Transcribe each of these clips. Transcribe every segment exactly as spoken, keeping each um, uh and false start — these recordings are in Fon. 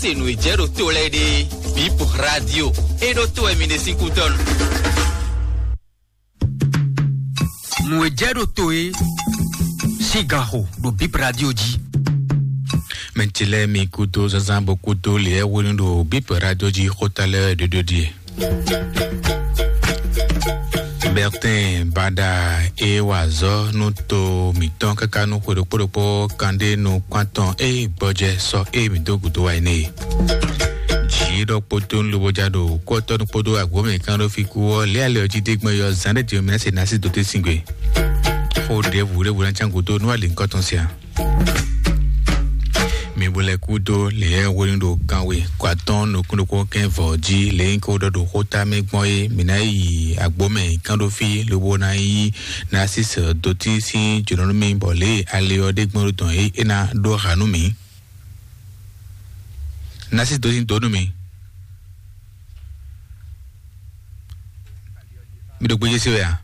Se nǔ e jɛ ɖo to lɛ́ɛ ɖe, Bip Radio e ɖo to wɛ mi ɖe sín kútɔ́nu. Nǔ e jɛ ɖo to e sín ganxo ɖo Bip Radio jí. Mɛ ce lɛ́ɛ mi kúdó zazán bó kúdó lě e hwenu ɖo Bip Radio jí xóta lɛ́ɛ ɖoɖo ɖie. Bertin Bada e wa azɔ̌ nú to mǐtɔn káká nú xwe ɖokpó ɖokpó kanɖé nukún atɔn e gbɔjɛ sɔ e mǐ dó gǔdo wá é nɛ́ e. Jǐ ɖɔ kpódó nú lobo ja ɖo kú ɔ́ tɔ́ nú kpódó agbǒ mɛ kán ɖó fí kú ɔ́, lě alɛ ɔ́ jí dé gbɔn yɔ zán ɖé din mɛ se ná sí dó tɛ́ sín gbe. Xó ɖěbǔ ɖěbǔ ná cán gǔdo nú ali nukɔn tɔn sia. Mi bo lɛ́ kúdó lě e hwenu ɖo kanwe kɔ atɔ́ɔ́n nukún ɖokpó kɛ́n vɔ̌ jí lě e nyí ko ɖɔ ɖo xóta mɛ gbɔn é, mǐ ná yi agbǒ mɛ kán ɖó fí lobo ná yí Narcisse dó tín sín jǒnɔ nú mì, bɔ lě e ali ɔ́ ɖe gbɔn ɖo dɔn é, é ná ɖó ha nú mǐ. Narcisse dó tín dó nú mì. Mi ɖo gbéjé se wɛ a?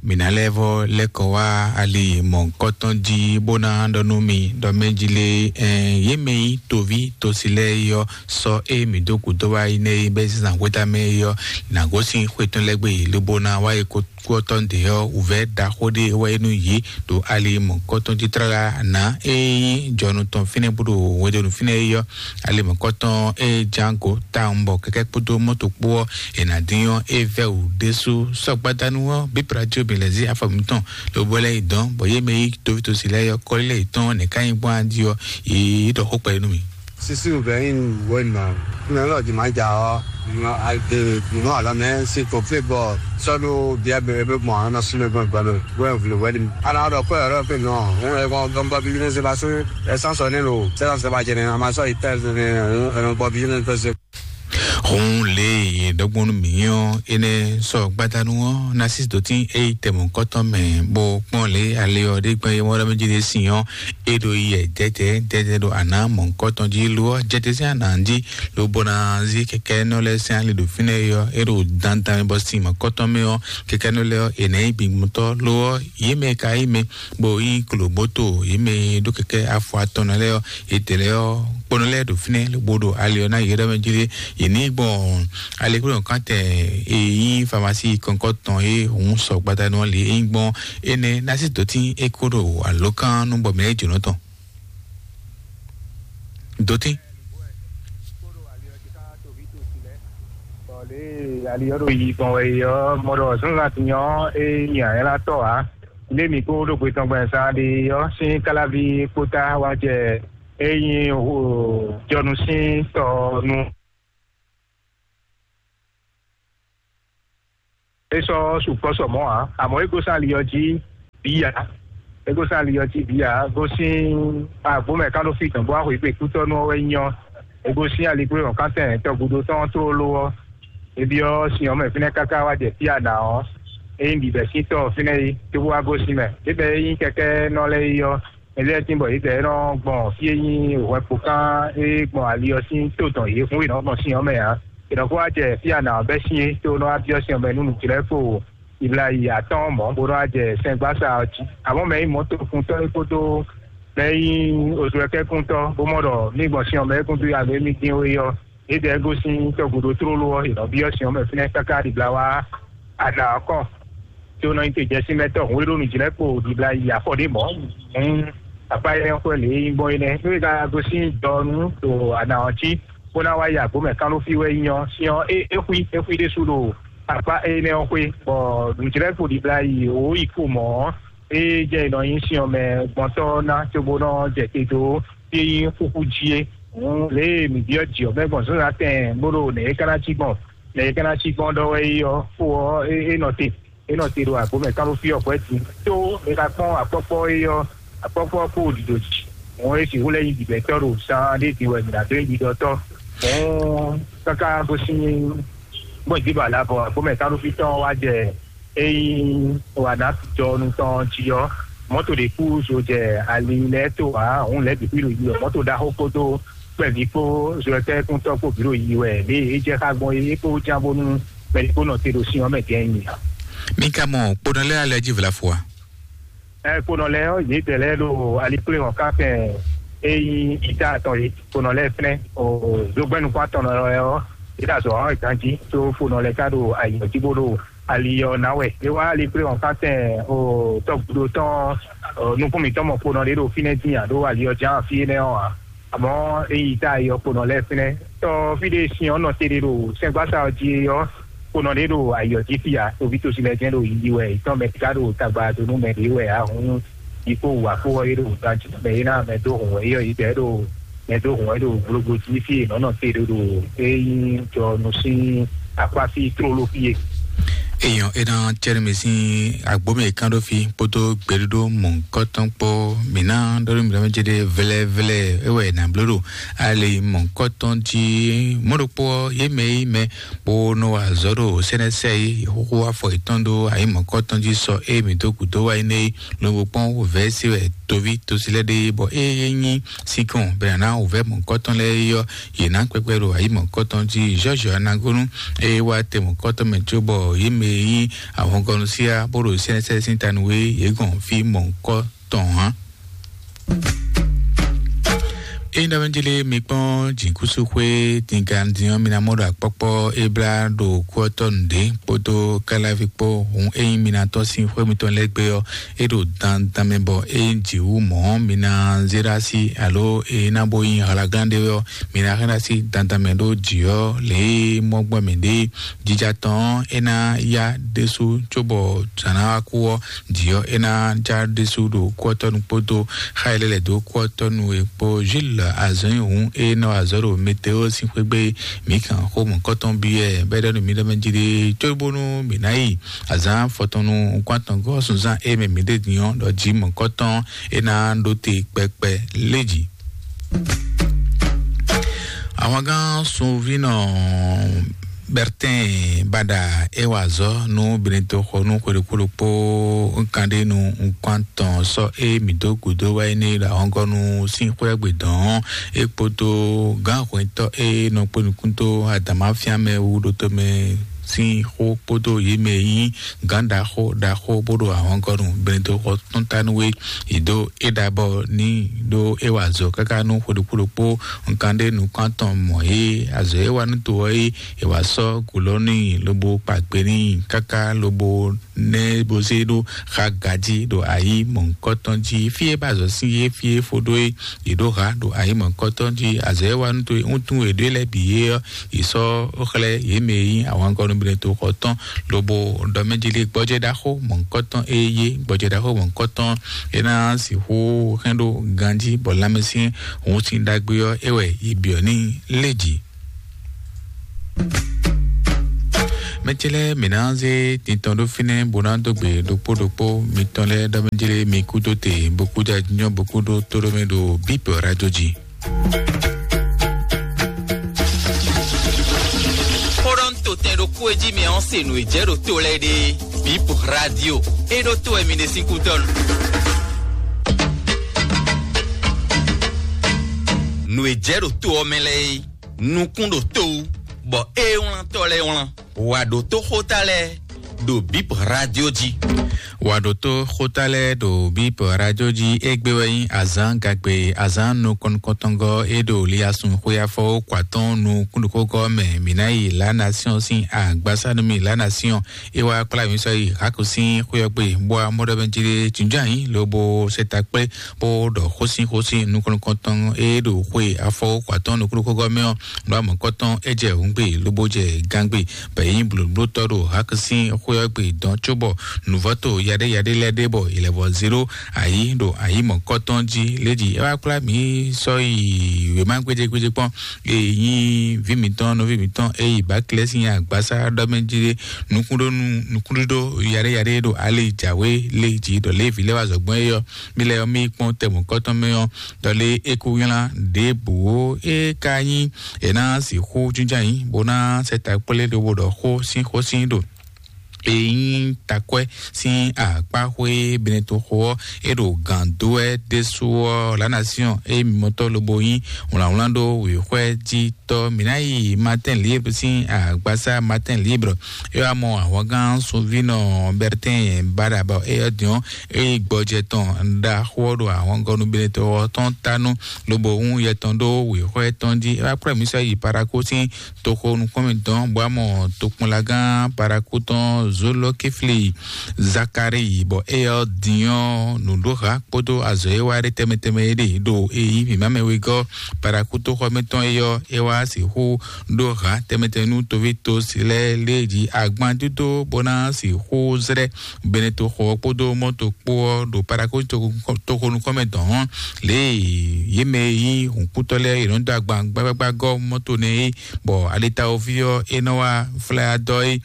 Mǐ ná lɛ́ vɔ́ lɛ́ kɔ wá ali mɔ̌hunkɔtɔn jí bó ná ɖɔ nú mi ɖɔ mɛ jí lé, ɛn yě mɛ nyí toví tosi lɛ́ɛ é ɔ́, sɔ́ e mǐ dó gǔdo wá yi nɛ́ é bɛ́ zǎn xwéta mɛ é ɔ́, nǎ gosín xwé tɔn lɛ́ɛ gbe lobo ná wá yi kútɔ́ ɖě ɔ́, wǔvɛ́ ɖaxó ɖé wɛ é nú yě ɖo ali mɔ̌hunkɔtɔn jí tlala nǎ e nyí jɔnu tɔn fínɛ́ bó ɖo hwedonu fínɛ́ é ɔ́, ali mɔ̌hunkɔtɔn e ján go tawun bɔ kɛkɛ́ kpódó mɔ́to kpó ɔ́, è nǎ dín ɔ́, é vɛ́ wǔ ɖésú. Sɔ́ gbadanu ɔ́, bíbla jó bǐ lɛ́ zí afɔ mǐtɔn, lobo lɛ́ yi dɔn, bɔ yě mɛ yí tovítɔ́si lɛ́ɛ ɔ́, kɔ́lí lɛ́ɛ yětɔn nɛ̌ ká nyí gbɔn adi ɔ́, yě ɖɔ xó kpɛɖé nú mì. Sisi wɛ nyí wɛ̌numa. Nɔ lɔ di ma ja ɔ, nɔ alɔ mɛ si ko fle bɔ sɔdu bia bɛ bɛ mɔ ana sumɛ gbɔn gbɔn wɛ vle wɛ di. Ana dɔ kɔ yɔrɔ pe nɔ, ŋun e kɔn dɔn bɔ bi ne se ba se, essence ne lo, essence ba jɛ ne, ama sɔ itɛl ne, ɛnɔ bɔ bi ne se. Hun le ye dɔgbɔnu mǐ ɔ́, énɛ́ sɔ gbadanu ɔ́ ná sí dǒtín é yi tɛmɔ̌kɔ́tɔn mɛ, bó kpɔ́n lě ali ɔ́ ɖé gbɛn é mɔ ɖɔ mɛ jí ɖé sin ɔ́, é ɖo yi yɛ jɛjɛ jɛjɛ ɖo ana mɔ̌hunkɔtɔn jí lo ɔ́ jɛjɛ sín ana jí, lobo ná zí kɛkɛ́nɔ lɛ́ɛ sín ali ɖo fínɛ́ é ɔ́, é ɖo dandan mɛ bɔ sin mɔ̌hunkɔtɔn mɛ ɔ́, kɛkɛ́nɔ lɛ́ɛ ɔ́, è nǎ nyí gbingbɔntɔ́ lo ɔ́, yě mɛ ka nyí mɛ bó nyí klobóto, yě mɛ ɖó kɛkɛ́ afɔ atɔn lɛ́ɛ ɔ́, yě tɛ lɛ́ɛ ɔ́, kponɔ lɛ́ɛ ɖo fínɛ́ lobo ɖo ali ɔ́ ná yě ɖɔ mɛ jí lé, yě ní gbɔn ali kúlɔ kán tɛ e nyí famasi kɔnkɔtɔn e hǔn sɔ gbadanu ɔ́ lě é nyí gbɔn énɛ́ ná sí dǒtín é kó ɖo alǒkan nú bɔ mɛ é jǒnɔ tɔn. Dǒtín. Bɔ lě e ali ɔ́ ɖo yi gbɔn wɛ é ɔ́, mɔ ɖɔ zɔ́nzan din ɔ́, é nyi ayɛ́látɔ́ ǎ. Lě mi kó ɖo gbe tɔn gbɛn zán ɖe ɔ́, sín káláví kpótá wá jɛ é nyí jɔnu sín tɔ nu. É sɔ́ sukpɔ́ sɔ mɔ̌ ǎ, amɔ̌ é gosín ali ɔ́ jí bǐ ǎ. É gosín ali ɔ́ jí bǐ ǎ, gosín agbǒ mɛ kán ɖó fí dɔ̌n bó wá xweyǐgbe kútɔ́nú ɔ́ wɛ nyí ɔ́. É gosín ali kpé wɔ̌nkantɛn tɔgúdo tɔn tlóló ɔ́, é byɔ́ sin ɔ́ mɛ fínɛ́ káká wá jɛ fí a nǎ ɔ́, é nyí bǐbɛ́ sín tɔ fínɛ́ é, cóbó wá gosín mɛ. Ébɛ́ é nyí kɛkɛ́nɔ lɛ́ɛ é ɔ́, mɛ lɛ́ɛ tín bɔ yě bɛ́ nɔ gbɔn fí e nyí hwɛkpokán e gbɔn ali ɔ́ sín tó dɔn yě hún è nɔ gbɔn sin ɔ́ mɛ ǎ. È nɔ kó wá jɛ fí a nǎ ɔ́ bɛ́ sín é, tó nɔ wá byɔ́ sin ɔ́ mɛ nú nǔjílɛ́kpo Iblahim atɔ́ɔ́n mɔ̌ bó nɔ́ wá jɛ sɛngbása ɔ́ jí. Amɔ̌ mɛ e nyí mɔ̌tokuntɔ́ é kpódó mɛ e nyí ozɔ́kɛ́kuntɔ́ bó mɔ ɖɔ mì gbɔn sin ɔ́ mɛ é gúdo alo émí dín ó é ɔ́, yě dɛ gosín tɔgǔdo tlóló ɔ́, yě nɔ byɔ́ sin ɔ́ mɛ fínɛ́ káká ɖibla wá aɖa ɔ́ kɔn. Tó nɔ nyi te jɛsínmɛtɔ́ hǔn e ɖó nǔjlɛ́kpo ɖibla yi afɔ ɖé mɔ̌. Hǔn akpá énɛ́ xwɛ lě e nyí gbɔn é nɛ́. Nú é ka gosín dɔ nú ɖo aɖa ɔ́ cí, bó ná wá yi agbǒ mɛ kánɖófí wɛ nyí ɔ́, sin ɔ́, é é xwí é xwí ɖésú ɖo akpá énɛ́ ɔ́ xwé, bɔ nǔjlɛ́kpo ɖibla yi wǒ yi kpo mɔ̌ ɔ́, é jɛ nɔ nyi sin ɔ́ mɛ gbɔntɔ́ ná cóbó nɔ jɛ te dó fí e nyí xúxú jí é. Hǔn lě e mǐ byɔ́ jǐ ɔ́ mɛ gbɔn zǎnzǎn tɛn bó ɖo nɛ̌ é ka ná cí gbɔn, nɛ̌ é ka ná cí gbɔn ɖɔ wɛ é ɔ́, xó ɔ́ é é nɔ te, é nɔ te ɖo agbǒ mɛ kánɖófí ɔ́ hwɛ̌ din. Tó è ka kpɔ́n akpɔ́kpɔ́ é ɔ́, akpɔ́kpɔ́ ɔ́ kpo ɖiɖo jǐ. Hǔn é sixú lɛ́ nyí bǐbɛ́tɔ́ ɖo zan ɖé din wɛ mǐ ná dó nyí ɖiɖɔtɔ́. Hǔn káká gosín gbɔn jí ba la bɔ agbǒ mɛ kánɖófí tɔn wá jɛ ényí wǎ ná jɔ nú tɔn jí ɔ́, mɔ̌to ɖě kú zo jɛ ali lɛ́ɛ tó ǎ, hǔn lɛ̌ bǐ kú yi ɖo yi wɛ mɔ̌to ɖaxó kpódó kpɛví kpó zɔ́tɛ́kúntɔ́ kpó bǐ ɖo yi wɛ lě e é jɛ xá gbɔn é é kpó ján bónú mɛ ɖě kpó nɔ te ɖo sin ɔ́ mɛ gɛ́n nyi ǎ. Mi ka mɔ kponɔ lɛ́ɛ alɛ jí vlafo a? Ɛ kponɔ lɛ́ɛ ɔ́, yědɛɛ lɛ́ɛ ɖo alikpléhɔn káfɛn e nyí ita atɔn é. Kponɔ lɛ́ɛ fɛ́nɛ o zogbɛ́nukún atɔn lɛ́ɛ ɔ́, yě ɖo azɔ̌ wa wɛ ganjí, tó fonɔ lɛ́ɛ ka ɖo ayǐ ɔ́ jí bó ɖo ali ɔ́ ná wɛ. É wá alikpléhɔn káfɛn o tɔgúdo tɔn o nukún mǐtɔn mɔ kponɔ ɖé ɖo fínɛ́ dín ǎ ɖó ali ɔ́ ján fí énɛ́ ɔ́ ǎ. Àmọ́ é yi ta ayɔ kponɔ lɛ́ɛ fínɛ́. Tɔ fí ɖé sin ɔ́ nɔ te ɖé ɖo sɛ́ngbásá ɔ́ jí ɔ́, kponɔ ɖé ɖo ayɔ jí fí ǎ. Toví tosi lɛ́ɛ jɛ́n ɖo yiyi wɛ, yě tɔn mɛ ká ɖo tagba dó nú mɛ ɖě wɛ ǎ hǔn, yi kó wǔ wá kó ɔ́, é ɖo wǔ tɔn jí mɛ é ná mɛ dó hǔn wɛ, é yɔ yi dɛ̌ ɖo mɛ dó hǔn wɛ ɖo gblogblo jí fí è nɔ́ nɔ te ɖé ɖo é nyí jɔ nú sín akwáfí tlóló fí e. Èèyàn é ná cɛ́ nú mi sín agbómì e kán ɖó fí kpódó gběɖóɖó mɔ̌hunkɔtɔn kpó. Mǐ ná ɖɔ nú mi ɖɔ mɛ céɖé vlɛ́vlɛ́ é wɛ è nǎ bló ɖo ali mɔ̌hunkɔtɔn jí. Mɔ̌ ɖokpó ɔ́, yě mɛ e nyí mɛ bó nɔ wa azɔ̌ ɖo sɛ́nɛsɛ é, yě xúxú afɔ yětɔn ɖó ayǐ mɔ̌hunkɔtɔn jí sɔ é mǐ dó gǔdo wá nyí nɛ́ é, lobo kpɔ́n wǔvɛ́ se wɛ toví tosi lɛ́ɛ ɖe é, bɔ é nyí sinkɔn bɛ̌ ná wǔvɛ́ mɔ̌hunkɔtɔn lɛ́ɛ é ɔ́, yě ná kpɛkpɛ ɖo ayǐ mɔ̌hunkɔtɔn jí. Jɔ́jɔ anagónú é wá tɛ mɔ̌hunkɔtɔn mɛ cóbɔ yě mɛ e nyí ahɔngɔ́núsíá bó ɖo sɛ́nɛsɛ sín ta nú é, yě gɔn fí mɔ̌hunkɔtɔn hán. Ényí ɖɔ mɛ jlé mi kpɔ́n jǐkúsúxwé dingandin ɔ́, mi ná mɔ ɖo akpɔ́kpɔ́ é blá ɖo kú ɔ́ tɔ́ nǔɖé kpódó káláví kpó. Hǔn ényí mi ná tɔ́n sín xwé mitɔn lɛ́ɛ gbé ɔ́, é ɖo dandan mɛ bɔ é jǐ wú mɔ̌. Mi ná zé ɖó así alo é ná bó nyí hlaglán ɖé ɔ́, mi ná hɛn ɖó así dandan mɛ ɖó jǐ ɔ́ lě e mɔ́gbɔn mɛ ɖé. Jija tɔn ɔ́, é ná yá ɖésú cóbɔ zǎn ná wá kú ɔ́, jǐ ɔ́ é ná já ɖésú ɖo kú ɔ́ tɔ́ nu kpódó xá e lɛ́ lɛ̌ dó kú ɔ́ tɔ́ nu e kpó. Jules azɔ̌nyi hǔn e nɔ azɔ̌ ɖo météo sín xwé gbé, mǐ kan xó mɔ̌kɔtɔn byɔ́ ɛ bɔ é ɖɔ nú mǐ ɖɔ mɛ jí ɖé cóbónú mǐ ná yi azǎn fɔtɔn nú nukún atɔngɔ́ sunzán e mɛ mǐ ɖe din ɔ́ ɖɔ jí mɔ̌kɔtɔn é ná ɖó te kpɛkpɛ lé jǐ. Ahwangán sunvínɔ Bertin Bada é wa azɔ̌ nú Benetoxɔ nú xwedokpóɖokpó nkanɖénu nkwán tɔn sɔ́ é mǐ dó gǔdo wá é n'i ɖo ahɔngɔ́nu sín xwé gbe dɔn ɔ́, é kpódó gǎnhwɛntɔ́ e nɔ kpó nukún dó adǎmáfíán mɛ wú ɖótó mɛ sín xó kpódó yě mɛ e nyí gǎn ɖaxó ɖaxó bó ɖo ahɔngɔ́nu Benetoxɔ tɔn ta nú é. Yě dó é ɖa bɔ ní ɖó é wa azɔ̌ káká nú xwe ɖokpó ɖokpó nkan ɖé nukún atɔn mɔ̌ é. Azɔ̌ e wa nú to ɔ́ é, è wǎ sɔ́ gǔ lɔ n'i lobo kpa gbe n'i káká lobo nɛ bó zé ɖó xa gají ɖo ayǐ mɔ̌hunkɔtɔn jí. Fí e ba azɔ̌ sín é, fí e fó ɖó é, yě ɖó ha ɖo ayǐ mɔ̌hunkɔtɔn jí. Azɔ̌ e wa nú to wuntun è ɖó e lɛ́ɛ bǐ é ɔ́, yě sɔ́ xlɛ́ yě mɛ e nyí ahwankɔ́ nú Benetoxɔ tɔn, lobo ɖɔ mɛ jí lé gbɔjɛ́ ɖaxó mɔ̌hunkɔtɔn e yé gbɔjɛ́ ɖaxó mɔ̌hunkɔtɔn é ná sixú hɛn ɖó ganjí bɔ lanmɛsyɛn hun sín ɖagbe ɔ́, é wɛ yi byɔ̌ n'i lé jǐ. Mɛ ce lɛ́ɛ mǐ ná zé tintɔn ɖó fínɛ́ bó ná dó gbe ɖokpó ɖokpó mitɔn lɛ́ɛ ɖɔ mɛ jlé mi kú dó te, bó kú jɛ nyɔ́, bó kú ɖó tóɖó mɛ ɖo bípɛ ɔ́ ɖá jó jí. Xó ɖɔ un to tɛn ɖokpó e jí mi ɔ́ se nǔ e jɛ ɖo to lɛ́ɛ ɖe. Bip Radio, é ɖó to wɛ mi ɖe sín kútɔ́ nu. Nǔ e jɛ ɖo to ɔ́ mɛ lɛ́ɛ é, nukún ɖo to wú, bɔ é wlántɔ́ lɛ́ɛ wlán. Wǎ ɖótó xóta lɛ́ɛ ɖo Bip Radio jí. Wǎ ɖótó xóta lɛ́ɛ ɖo Bip Radio jí. Égbé wɛ nyí azǎn gagbe, azǎn nukɔn nukɔntɔngɔ́ é ɖo Liasun xwé afɔwó kɔ atɔ́ɔ́n nukúnɖokógɔ́ mɛ. Mǐ ná yi La Nation sín agbásá nú mì. La Nation é wá kplá mǐ sɔ́ yi Hako sín xwé ɔ́ gbe, bó wá mɔ ɖɔ mɛ jí ɖé jǐnjɔ́n ayǐ lobo sɛ ta kplé bó ɖɔ xósín xósín nukɔn nukɔntɔn e ɖo xwe afɔwó kɔ atɔ́ɔ́n nukúnɖokógɔ́ mɛ ɔ́. Nǔ amɔ̌kɔtɔn é jɛ hǔngbe lobo jɛ gangbe, bɔ é nyí blǒblótɔ́ ɖo Hako sín xwé ɔ́ gbe dɔn cóbɔ nǔvɔ́to yaɖé yaɖé lɛ́ɛ ɖe bɔ è lɛ́ vɔ zé ɖó ayǐ ɖo ayǐ mɔ̌kɔtɔn jí. Lédi é wá kplá mǐ sɔ́ yi wěma gbéjégbéjé kpɔ́n, e nyí vǐ mǐtɔn nɔví mǐtɔn e yi Baklɛ́ sín agbásá ɖɔ mɛ jí ɖé nukúnɖónú nukúnɖíɖó yaɖé yaɖé ɖo ali jǎwe lé jí ɖɔ Lévi lɛ́ɛ wá zɔ̌gbɔn é ɔ́, mí lɛ́ɛ ɔ́ mí kpɔ́n tɛmɔ̌kɔtɔn mɛ ɔ́, ɖɔ lé é kú nylá ɖěbǔ ó. É ka nyí è nǎ sixú jínjɔ́n ayǐ bó ná sɛ ta kplé lobo ɖɔ xó sín xó sín ɖo e nyí takwɛ́ sín akpáxwé Benetoxo ɔ́, é ɖo gǎn dó wɛ ɖésú ɔ́, La Nation e mimɔtɔ́ lobo nyí wlǎnwlán ɖó wěxwɛ́ jí tɔ́. Mǐ ná yi Matin Libre sín agbasá Matin Libre. É wá mɔ ahwangán sunvínɔ Bertin Bada bɔ é ɔ́ din ɔ́, é yi gbɔjɛ tɔn ɖaxó ɔ́ ɖo ahwangɔ́nú Benetoxo ɔ́ tɔn ta nú lobo hún yɛ tɔn ɖó wěxwɛ́ tɔn jí. É wá kplɔ́ mǐ sɔ́ yi Parakou sín toxo nukúnmɛ tɔn bɔ amɔ tokpɔnlagán Parakou tɔn Zolo Kifli Zakari bɔ é ɔ́ din ɔ́ nǔɖoha kpódó azɔ̌ e wá ɖe tɛnmɛ tɛnmɛ é ɖe ɖo e yí mǐmá mɛ wegɔ́ Parakou toxɔmɛ tɔn é ɔ́ é wá sixú ɖó ha tɛnmɛ tɛnmɛ nú toví tosi lɛ́ɛ lé jí agban dídó bó ná sixú zlɛ́ Benetoxo ɔ́ kpódó mɔ́to kpó ɔ́ ɖo Parakou toxo nukúnmɛ dɔn hɔn lě e yě mɛ e nyí hǔnkútɔ́ lɛ́ɛ yě nɔ dó agban gbágbágbá gɔ́ mɔ́to nɛ́ é bɔ alitawoví ɔ́ é nɔ wá flá dɔ é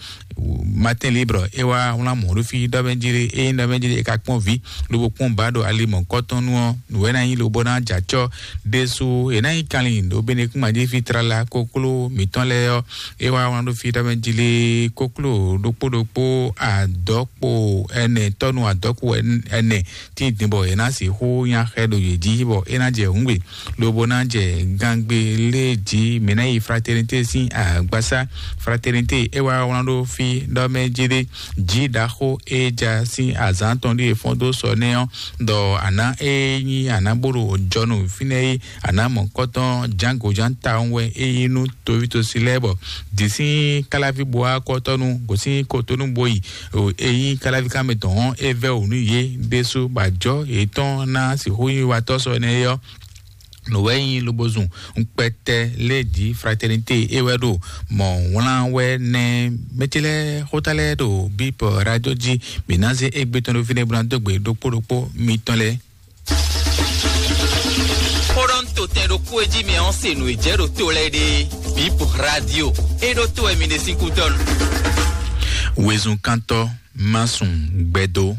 Matin Libre é wá wlán mɔ̌ ɖó fí ɖɔ mɛ jí é nyí ɖɔ mɛ jí é ka kpɔ́n vǐ lobo kpɔ́n ba ɖo ali mɔ̌kɔtɔn nu ɔ́ nǔ wɛ ná nyí lobo ná jɛ acɔ́ ɖésú è nǎ nyí kanlin ɖo Benekúnma jí fí tlala kokló mǐtɔn lɛ́ɛ ɔ́ é wá wlán ɖó fí ɖɔ mɛ jí lé kokló ɖokpó ɖokpó adɔkpo ɛnɛ tɔ́nu adɔkpo ɛnɛ tí din bɔ è nǎ sixú nya xɛ ɖo yě jí bɔ é ná jɛ hǔngbe lobo ná jɛ gangbe lé jí mǐ ná yi Fraternité sín agbasá. Fraternité é wá wlán ɖó fí ɖɔ mɛ jí ɖé jí ɖaxó é ja sín azǎn tɔn ɖíe fɔ́n dó sɔ nɛ́ ɔ́ ɖɔ àná é nyí àná bó ɖo jɔnu fínɛ́ é àná mɔ̌kɔtɔn jǎngojǎn tawun wɛ é nyí nú tovítosi lɛ́ɛ bɔ dǐ sín káláví bo wá kɔ́tɔ́nu gosín kotonu bo yi o e nyí káláví kámɛ tɔn ɔ́ é vɛ́ wǔ nú yě ɖésú bɔ ajɔ̌ yětɔn ná sixú nyí watɔ́ sɔ énɛ́ é ɔ́ nǔ wɛ nyí lobo zun ŋkpɛtɛ lé jí Fraternité é wɛ ɖo mɔ wlán wɛ nɛ mɛtí lɛ́ɛ xóta lɛ́ɛ ɖo bípɔ radio jí mǐ ná zé égbé tɔn ɖó fínɛ́ bó ná dó gbe ɖokpó ɖokpó mitɔn lɛ́ɛ. Xó ɖɔ ń to tɛn ɖokpó e jí mɛ ɔ́ se nǔ e jɛ ɖo to lɛ́ɛ ɖe. Bip radio e ɖo to wɛ mi ɖe sín kútɔ́ nu. Wezun kántɔ́ má sùn gbɛdó.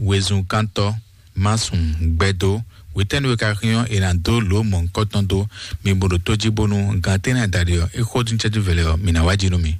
Wezun kántɔ́ má sùn gbɛdó. Wětɛ́nu e ka xyɔ́n è nǎ dó lǒ mɔ̌hunkɔtɔn dó. Mi bo ɖo tó jí bónú gan tɛ́nɛ adaɖé ɔ́ é xó dín cɛ́jú vɛlɛ ɔ́ mi ná wá jí nú mi.